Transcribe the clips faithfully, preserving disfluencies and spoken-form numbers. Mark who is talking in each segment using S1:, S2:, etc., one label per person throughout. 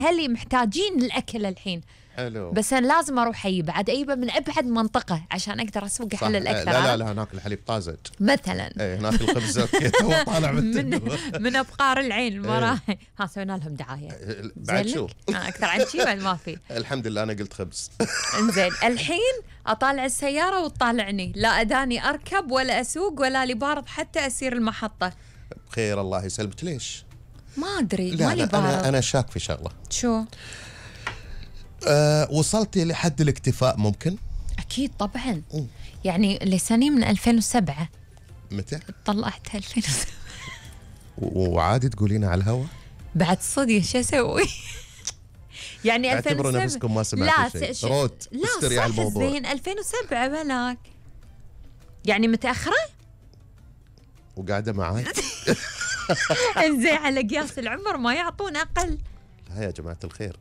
S1: اهلي محتاجين الاكل الحين.
S2: حلو.
S1: بس انا لازم اروح اجيب بعد اجيبه من ابعد منطقه عشان اقدر اسوق احلل اكثر.
S2: لا لا لا هناك الحليب طازج
S1: مثلا.
S2: اي هناك الخبز تو طالع
S1: من من ابقار العين المراحي. ها سوينا لهم دعايه
S2: بعد شو
S1: اكثر عن شي بعد ما في.
S2: الحمد لله انا قلت خبز.
S1: انزين الحين اطالع السياره وتطالعني، لا اداني اركب ولا اسوق ولا لي بارد حتى اسير المحطه.
S2: بخير الله يسلمك. ليش؟
S1: ما ادري
S2: لا
S1: مالي
S2: لا
S1: بارد.
S2: انا انا شاك في شغله.
S1: شو؟
S2: أه وصلتي لحد الاكتفاء ممكن؟
S1: اكيد طبعا. م. يعني لساني من ألفين وسبعة.
S2: متى؟
S1: طلعتها ألفين وسبعة.
S2: وعادي تقولينها على الهواء؟
S1: بعد صدق شو اسوي؟ يعني ألفين وسبعة.
S2: اعتبروا نفسكم ما سمعتوا شيء. ش... روت استري على الموضوع.
S1: لا زين ألفين وسبعة بلاك. يعني متأخرة؟
S2: وقاعدة معاي.
S1: انزين على قياس العمر ما يعطون أقل.
S2: لا يا جماعة الخير.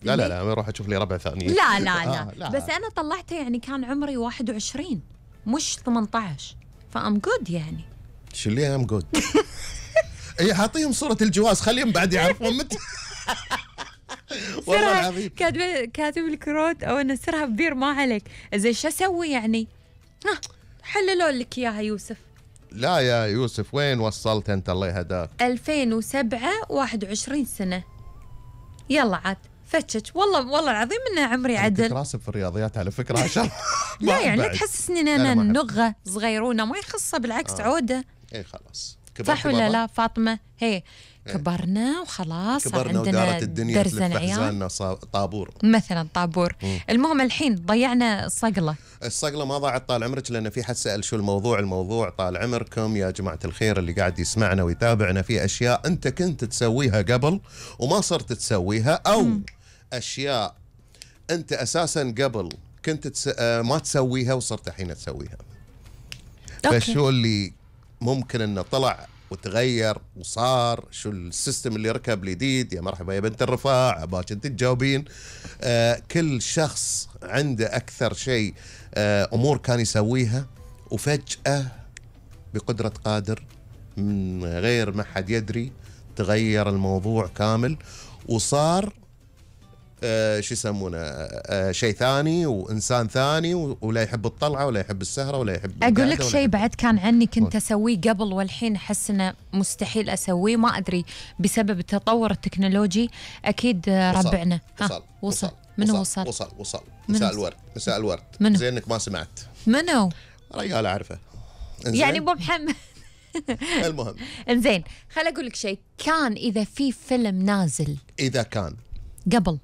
S2: لا لا لا اروح اشوف لي ربع ثانية.
S1: لا لا لا, آه لا. بس انا طلعته يعني كان عمري واحد وعشرين مش ثمانية عشر فام جود يعني.
S2: شو اللي ام جود؟ اي حاطيهم صورة الجواز خليهم بعد يعرفون متى. والله العظيم
S1: كاتب كاتب الكروت او انسرها ببير ما عليك. زين شو اسوي يعني؟ ها حللوا لك اياها يوسف.
S2: لا يا يوسف وين وصلت انت الله يهداك؟
S1: ألفين وسبعة واحد وعشرين سنة. يلا عاد فتشك والله والله العظيم انه عمري عدل.
S2: كنت راسب في الرياضيات على فكره عشان
S1: لا يعني تحسسني ان انا نغه صغيرونه ما يخصها بالعكس آه. عوده.
S2: اي خلاص
S1: صح ولا لا فاطمه؟ هي كبرنا وخلاص
S2: كبرنا
S1: عندنا
S2: الدنيا
S1: درزن عيال
S2: طابور
S1: مثلا طابور. مم. المهم الحين ضيعنا الصقله.
S2: الصقله ما ضاعت طال عمرك لان في حد سال شو الموضوع. الموضوع طال عمركم يا جماعه الخير اللي قاعد يسمعنا ويتابعنا في اشياء انت كنت تسويها قبل وما صرت تسويها او مم. اشياء انت اساسا قبل كنت تس... ما تسويها وصرت الحين تسويها. فشو اللي ممكن انه طلع وتغير وصار؟ شو السيستم اللي ركب الجديد؟ يا مرحبا يا بنت الرفاع باش انت تجاوبين. آه كل شخص عنده اكثر شيء آه امور كان يسويها وفجأة بقدرة قادر من غير ما حد يدري تغير الموضوع كامل وصار آه شو يسمونه آه شيء ثاني وإنسان ثاني ولا يحب الطلعة ولا يحب السهرة ولا يحب.
S1: أقول لك شيء بعد كان عني كنت أسويه قبل والحين أحس إنه مستحيل أسويه ما أدري بسبب التطور التكنولوجي. أكيد
S2: وصل.
S1: ربعنا
S2: وصل.
S1: ها وصل. وصل منو وصل؟
S2: وصل وصل مساء الورد مساء الورد. زينك ما سمعت
S1: منو؟
S2: رجال أعرفه
S1: يعني أبو محمد.
S2: المهم
S1: إنزين خل أقول لك شيء. كان إذا في فيلم نازل
S2: إذا كان
S1: قبل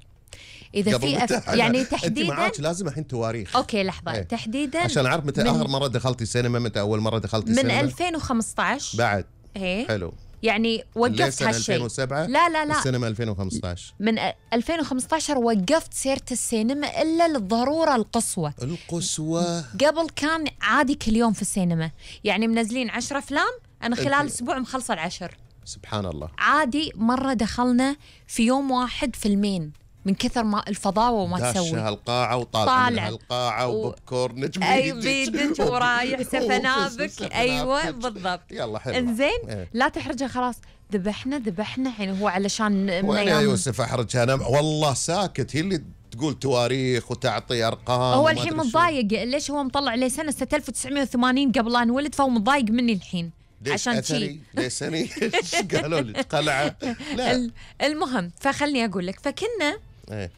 S1: إذا في أف... يعني تحديدا
S2: انت معاك لازم الحين تواريخ.
S1: اوكي لحظه ايه. تحديدا
S2: عشان اعرف متى من... اخر مره دخلتي السينما متى اول مره دخلتي السينما؟
S1: من ألفين وخمسة عشر
S2: بعد
S1: ايه
S2: حلو
S1: يعني وقفت هالشيء.
S2: ألفين وسبعة
S1: لا لا لا
S2: السينما ألفين وخمسة عشر
S1: من ألفين وخمسة عشر وقفت سيرة السينما الا للضروره القصوى.
S2: القصوى
S1: قبل كان عادي كل يوم في السينما يعني منزلين عشر افلام انا خلال اسبوع مخلصه العشر.
S2: سبحان الله.
S1: عادي مره دخلنا في يوم واحد فيلمين من كثر ما الفضاوه وما تسوي.
S2: داش هالقاعه وطالع من هالقاعه و... وبوب كورن نجم
S1: اي بيدك ورايح سفنابك. ايوه بالضبط.
S2: يلا حلو
S1: انزين ايه. لا تحرجه خلاص ذبحنا ذبحنا الحين هو علشان
S2: وين يا يوسف احرج انا والله ساكت. هي اللي تقول تواريخ وتعطي ارقام.
S1: هو الحين متضايق ليش هو مطلع لي سنه ألف وتسعمية وثمانين قبل لا انولد فهو متضايق مني الحين عشان شيء.
S2: ليش سني ايش قالوا لك قلعه؟ لا
S1: المهم فخلني اقول لك فكنا
S2: ايه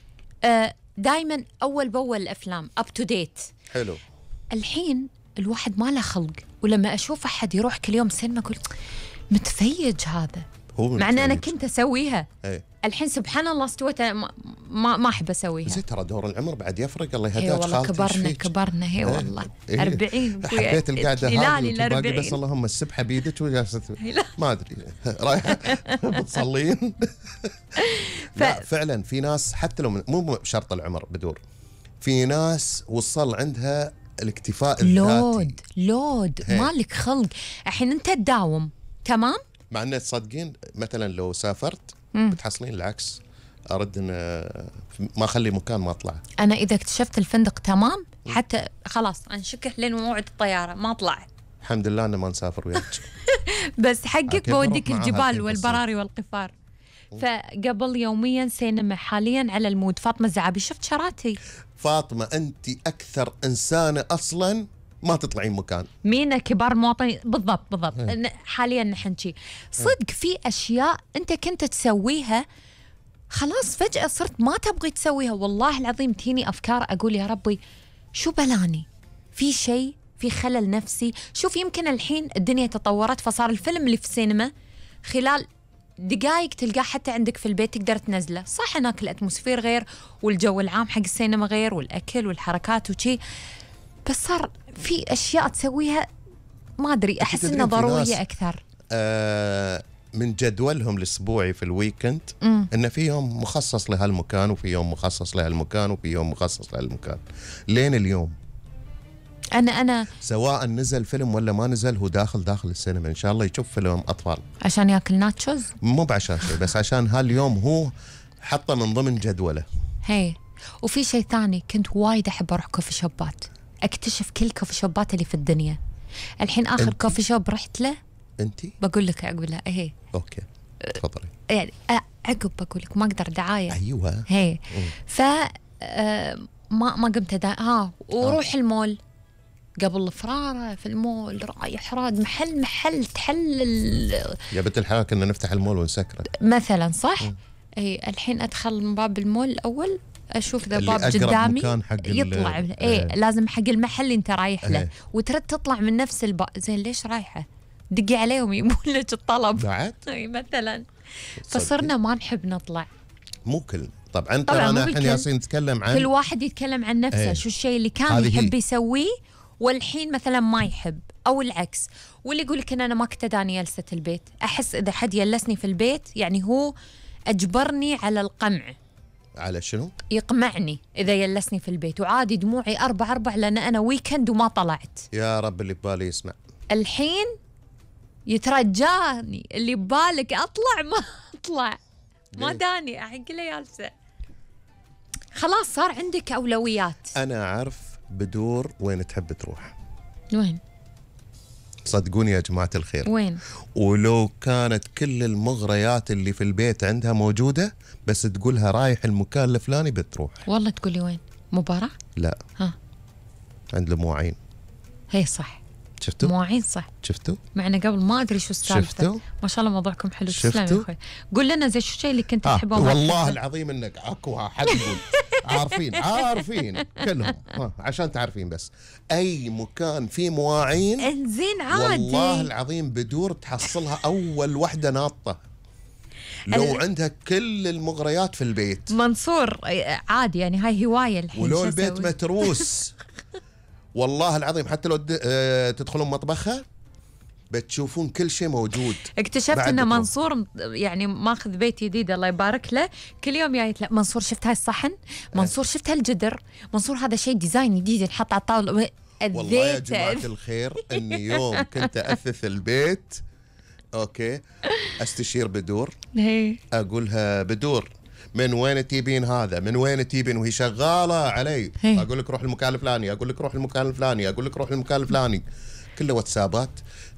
S1: آه دائما اول باول الافلام اب تو ديت.
S2: حلو.
S1: الحين الواحد ما له خلق ولما اشوف احد يروح كل يوم سينما اقول متفيج هذا هو مع ان انا كنت اسويها.
S2: ايه.
S1: الحين سبحان الله استويت ما ما, ما احب اسويها.
S2: زين ترى دور العمر بعد يفرق الله يهداك
S1: خالتي. والله كبرنا كبرنا هي والله
S2: إيه.
S1: أربعين
S2: حبيت القعده هذه بس اللهم السبحه بيدك وجالسه ما ادري رايحه بتصلين. ف... لا فعلا في ناس حتى لو مو بشرط العمر بدور في ناس وصل عندها الاكتفاء الذاتي.
S1: لود لود مالك خلق الحين انت تداوم تمام
S2: مع ان تصدقين مثلا لو سافرت مم. بتحصلين العكس ارد ان ما اخلي مكان ما اطلع.
S1: انا اذا اكتشفت الفندق تمام حتى خلاص انشكح لين موعد الطياره ما اطلع.
S2: الحمد لله ان ما نسافر وياك.
S1: بس حقك بوديك الجبال والبراري والقفار. فقبل يوميا سينما، حاليا على المود. فاطمة الزعابي، شفت شراتي؟
S2: فاطمة أنت أكثر إنسانة أصلا ما تطلعين مكان.
S1: مين كبار المواطنين؟ بالضبط بالضبط. حاليا نحن شي صدق في أشياء أنت كنت تسويها خلاص فجأة صرت ما تبغي تسويها. والله العظيم تيني أفكار أقول يا ربي شو بلاني، في شيء في خلل نفسي. شوف يمكن الحين الدنيا تطورت فصار الفيلم اللي في السينما خلال دقائق تلقاه حتى عندك في البيت تقدر تنزله. صح هناك الأتموسفير غير والجو العام حق السينما غير والأكل والحركات وشي، بس صار في أشياء تسويها ما أدري أحس إنها ضرورية أكثر.
S2: آه من جدولهم الأسبوعي في الويكند إن في يوم مخصص لهالمكان وفي يوم مخصص لهالمكان وفي يوم مخصص لهالمكان. لين اليوم
S1: أنا أنا
S2: سواء نزل فيلم ولا ما نزل هو داخل داخل السينما إن شاء الله يشوف فيلم أطفال
S1: عشان يأكل ناتشوز،
S2: مو بعشان شيء بس عشان هاليوم هو حطه من ضمن جدوله.
S1: هي وفي شيء ثاني، كنت وايد أحب أروح كوفي شوبات، أكتشف كل كوفي شوبات اللي في الدنيا. الحين آخر انتي؟ كوفي شوب رحت له أنتي؟ بقول لك عقب لا هي
S2: أوكي تفضلي.
S1: يعني عقب بقول لك ما أقدر دعاية.
S2: أيوة
S1: هي ف آه ما ما قمت دا ها وروح آه. المول قبل الفرارة في المول رايح راد محل محل تحلل
S2: يا بنت الحلال كنا نفتح المول ونسكره
S1: مثلا صح. م. اي الحين ادخل من باب المول الاول اشوف ذا باب قدامي يطلع اي ايه. لازم حق المحل اللي انت رايح له ايه. وترد تطلع من نفس الباب. زين ليش رايحه؟ دقي عليهم يبون لك الطلب
S2: بعد
S1: اي مثلا. فصرنا ما نحب نطلع.
S2: مو كل طبعا طبعا انا الحين ياسين نتكلم عن
S1: كل واحد يتكلم عن نفسه ايه. شو الشيء اللي كان يحب يسويه والحين مثلا ما يحب او العكس. واللي يقول لك ان انا ما كنت داني جلسة البيت. احس اذا حد يلسني في البيت يعني هو اجبرني على القمع.
S2: على شنو؟
S1: يقمعني اذا يلسني في البيت، وعادي دموعي اربع اربع لان انا ويكند وما طلعت.
S2: يا رب اللي ببالي يسمع.
S1: الحين يترجاني اللي ببالك اطلع ما اطلع ما داني احق لي جالسة. خلاص صار عندك اولويات.
S2: انا اعرف بدور وين تحب تروح.
S1: وين؟
S2: صدقوني يا جماعة الخير
S1: وين؟
S2: ولو كانت كل المغريات اللي في البيت عندها موجودة بس تقولها رايح المكان الفلاني بتروح.
S1: والله تقولي وين؟ مباراة؟
S2: لا
S1: ها
S2: عند المواعين.
S1: هي صح
S2: شفتوا؟
S1: مواعين صح.
S2: شفتوا؟
S1: معنا قبل ما ادري شو السالفة. ما شاء الله موضوعكم حلو. تسلم يا اخوي. قول لنا زي شو الشيء اللي كنت
S2: آه.
S1: تحبه.
S2: والله العظيم انك اكوها حد يقول عارفين عارفين كلهم آه. عشان تعرفين بس اي مكان فيه مواعين
S1: انزين عادي
S2: والله العظيم بدور تحصلها اول وحده ناطه لو ال... عندها كل المغريات في البيت.
S1: منصور عادي يعني هاي هوايه الحين.
S2: ولو البيت متروس والله العظيم حتى لو تدخلون مطبخها بتشوفون كل شيء موجود.
S1: اكتشفت ان منصور يعني ماخذ بيت جديد الله يبارك له، كل يوم جايت له منصور شفت هاي الصحن، منصور شفت هالجدر، منصور هذا شيء ديزاين جديد ينحط على الطاوله.
S2: والله يا جماعة الخير اني يوم كنت اثث البيت اوكي استشير بدور اقولها بدور من وين تجيبين هذا من وين تجيبين وهي شغاله علي. اقول لك روح المكان الفلاني اقول لك روح المكان الفلاني اقول لك روح المكان الفلاني. كله واتسابات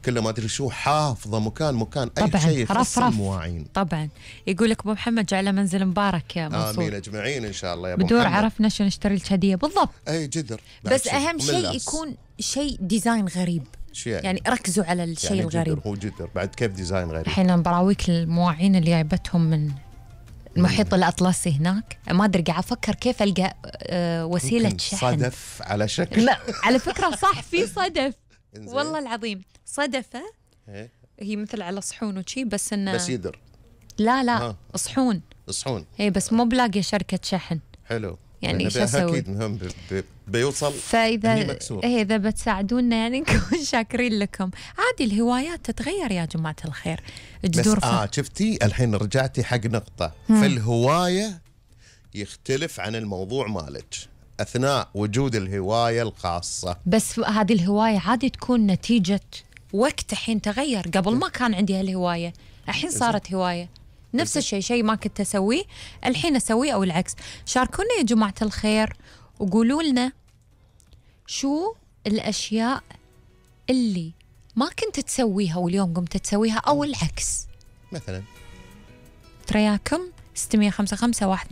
S2: كله ما ادري شو حافظه مكان مكان اي شيء يخص المواعين.
S1: طبعا يقول لك ابو محمد جعله منزل مبارك يا منصور.
S2: امين اجمعين ان شاء الله يا ابو
S1: بدور
S2: محمد.
S1: عرفنا شو نشتري لك هديه بالضبط.
S2: اي جدر
S1: بس اهم شيء يكون شيء ديزاين غريب.
S2: يعني؟
S1: يعني ركزوا على الشيء
S2: يعني
S1: الغريب.
S2: جدر هو جدر بعد كيف ديزاين غريب.
S1: الحين انا براويك المواعين اللي جايبتهم من المحيط الأطلسي هناك. ما أدري قاعد أفكر كيف ألقى أه وسيلة شحن.
S2: صدف على شكل
S1: على فكرة صح في صدف والله العظيم صدفة هي مثل على صحون وشي بس إنه
S2: بس يدر.
S1: لا لا ها. صحون
S2: صحون
S1: هي بس مو بلاقي شركة شحن.
S2: حلو
S1: يعني ايش اسوي؟
S2: اكيد مهم بيوصل.
S1: فاذا إيه اذا بتساعدونا يعني نكون شاكرين لكم. عادي الهوايات تتغير يا جماعه الخير.
S2: جذور بس اه شفتي الحين رجعتي حق نقطه في الهوايه يختلف عن الموضوع مالك اثناء وجود الهوايه الخاصه.
S1: بس هذه الهوايه عادي تكون نتيجه وقت الحين تغير. قبل ما كان عندي هالهوايه الحين صارت هوايه. نفس الشيء شيء ما كنت أسويه الحين أسويه أو العكس. شاركونا يا جماعة الخير وقولوا لنا شو الأشياء اللي ما كنت تسويها واليوم قمت تسويها أو العكس.
S2: مثلا
S1: ثرياكم ستمية خمسة خمسة واحد